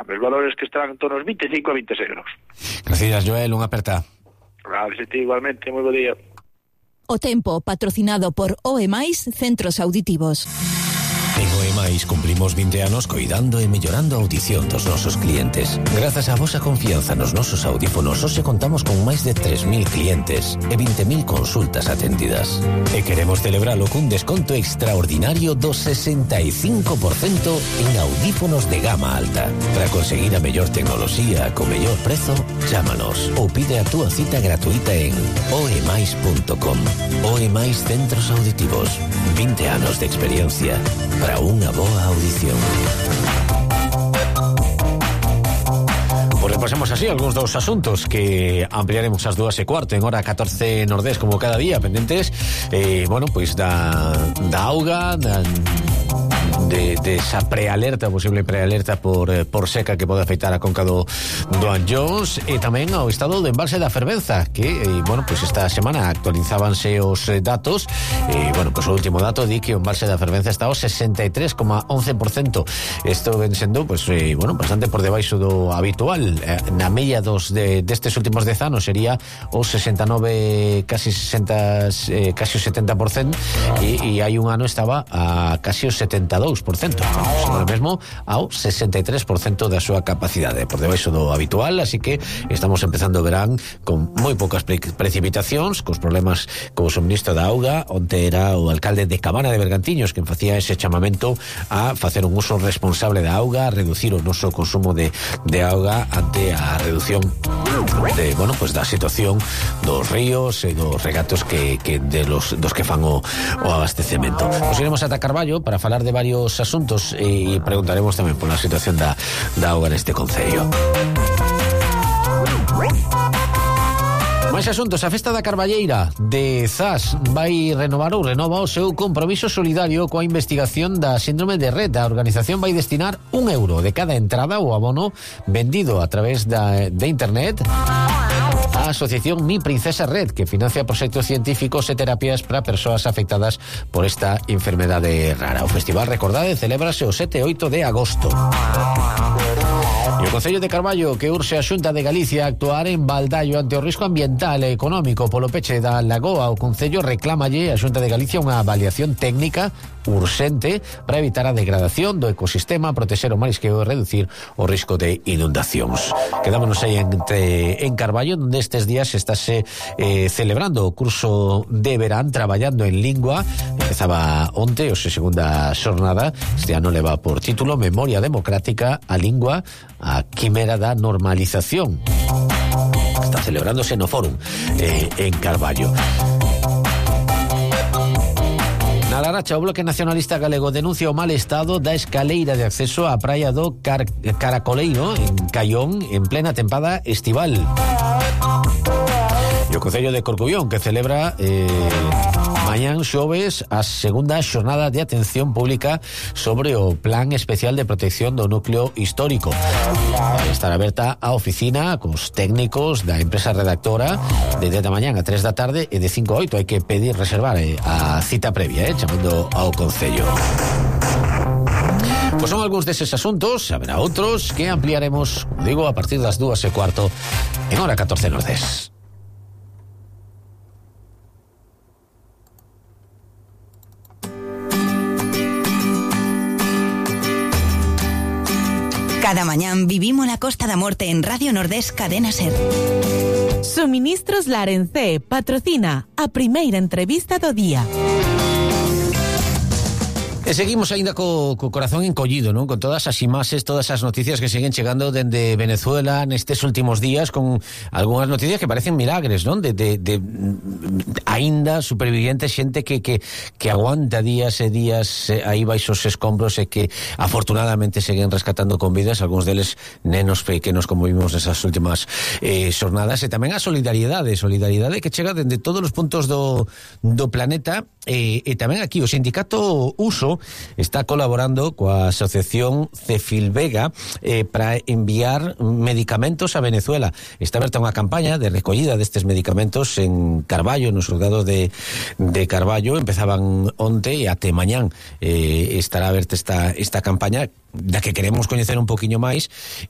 cambio. Os valores que están en torno aos 25 a 26 graus. Gracias, Joel, unha aperta. Gracias a ti igualmente, moi bo día. O tempo patrocinado por OE+ Centros Auditivos. En OE+ cumplimos 20 anos coidando e mellorando a audición dos nosos clientes. Grazas á vosa confianza nos nosos audífonos, hoxe contamos con máis de 3.000 clientes e 20.000 consultas atendidas. E queremos celebralo cun desconto extraordinario do 65% en audífonos de gama alta. Para conseguir a mellor tecnoloxía co mellor prezo, chámanos ou pide a túa cita gratuita en oemais.com. OE+ Centros Auditivos. 20 anos de experiencia para unha boa audición. Pues repasemos así algúns dos asuntos que ampliaremos ás 2:15 en hora 14 Nordés como cada día, pendentes bueno, pois da auga, de esa prealerta, posible prealerta por seca que pode afectar a conca do Anllóns, e tamén ao estado do embalse da Fervenza, que bueno, pois esta semana actualizábanse os datos, bueno, pois o último dato di que o embalse da Fervenza está ao 63,11%. Isto ven sendo, pois bueno, bastante por debaixo do habitual. Na media destes últimos 10 anos sería o 69, casi 60, casi o 70%, e hai un ano estaba a casi o 72%. Agora mesmo ao 63% da súa capacidade, por debaixo do habitual, así que estamos empezando o verán con moi poucas precipitacións, cos problemas co suministro da auga. Onte era o alcalde de Cabana de Bergantiños quen facía ese chamamento a facer un uso responsable da auga, a reducir o noso consumo de auga ante a reducción de, bueno, pues da situación dos ríos e dos regatos dos que fan o abastecemento. Nos iremos ata Carballo para falar de varios asuntos e preguntaremos tamén por a situación da auga neste concello. Máis asuntos. A festa da Carballeira de Zas vai renovar ou renova o seu compromiso solidario coa investigación da síndrome de Rett. A organización vai destinar €1 de cada entrada ou abono vendido a través de internet a asociación Mi Princesa Rett, que financia proxectos científicos e terapias para persoas afectadas por esta enfermedade rara. O festival, recordade, celébrase o 7 e 8 de agosto. E o Concello de Carballo que urxe a Xunta de Galicia a actuar en Baldallo ante o risco ambiental e económico polo peche da lagoa. O Concello reclámalle a Xunta de Galicia unha avaliación técnica urxente para evitar a degradación do ecosistema, protexer o marisqueo e reducir o risco de inundacións. Quedámonos aí en Carballo, onde estes días estáse celebrando o curso de verán traballando en lingua. Empezaba onte, hoxe segunda xornada. Este ano leva por título Memoria Democrática, a lingua, a quimera da normalización. Está celebrándose no Fórum en Carballo. Na Laracha, o Bloque Nacionalista Galego denuncia o mal estado da escaleira de acceso á praia do Caracoleiro en Caión en plena tempada estival. E o Concello de Corcubión que celebra mañán xoves a segunda xornada de atención pública sobre o Plan Especial de Protección do Núcleo Histórico. Vai estar aberta a oficina cos técnicos da empresa redactora de 10 da mañán a 3 da tarde e de 5 a 8 hai que pedir reservar a cita previa, chamando ao Concello. Pois son algúns deses asuntos, haberá outros que ampliaremos, como digo, a partir das 2:15 en hora 14 Nordés. Cada mañán vivimos la Costa da Morte en Radio Nordés Cadena Ser. Suministros Larencé patrocina a primeira entrevista do día. E seguimos aínda co corazón encollido, non? Con todas as imaxes, todas as noticias que seguen chegando dende Venezuela nestes últimos días, con algunhas noticias que parecen milagres, non? De aínda superviviente, xente que aguanta días e días aí baixo os escombros e que afortunadamente seguen rescatando con vidas, algúns deles nenos pequenos como vimos nesas últimas xornadas, e tamén a solidariedade que chega dende todos os puntos do planeta, e tamén aquí o sindicato Uso está colaborando coa asociación Cefilvega para enviar medicamentos a Venezuela. Está aberta unha campaña de recollida destes medicamentos en Carballo, nos xulgados de Carballo. Empezaban onte e até mañán estará aberta esta campaña da que queremos coñecer un poquinho máis,